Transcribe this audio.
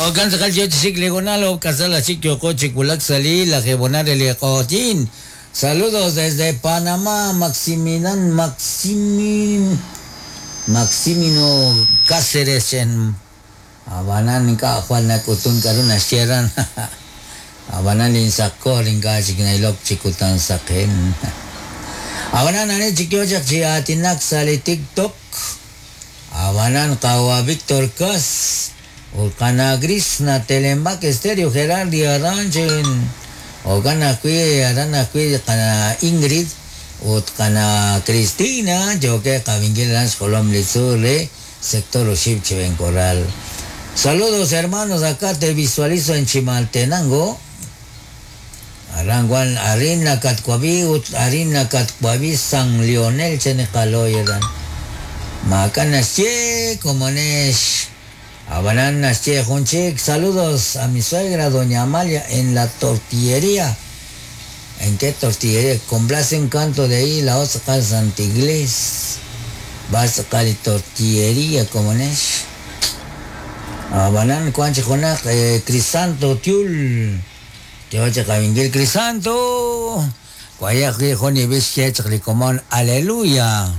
Jo'kan tz'aqal yo chi xik li honal oob' k'asal aj chik yooqo chi wulak sa' li lajeeb' honal re li q'oqyink. Saludos desde Panamá, Maximilan Maximin Maximino Cáceres chen Ab'anan ink'a' jwal nak'utun k'a'ru naxye aran. Ab'anan linsaqkor ink'a' chik na'ilok chi kutan saqen. Ab'anan ani chik yoo chaq chi aatinak sa' li TikTok? Ab'anan qawa' Victor Cas ut qana' Gris na Telembak Estéreo Gerardi aran chen. Jo'kan ajwi' aran ajwi' qana' Ingrid ut qana' Cristina yookeb' qab'inkil aran xjolom li tzuul re Sector oxib' Chiven Corral. Saludos hermanos, acá te visualizo en Chimaltenango. Aran wan arin nakatwab'i ut arin nakatwab'i San Lionel chan li qalooy aran. Maak'a' naxye komonex. Ab'anan naxye jun chik, saludos a mi suegra doña Amalia en la tortillería. ¿En qué tortillería? Complace un canto de ahí la otra Santa Iglesia. Vas a li tortillería komonex. Ab'anan wan chi junaq Crisanto Tiul. Yo chi qawinkil Crisanto. Wayaq wi' jun li b'ich xye chaq li komon Aleluya.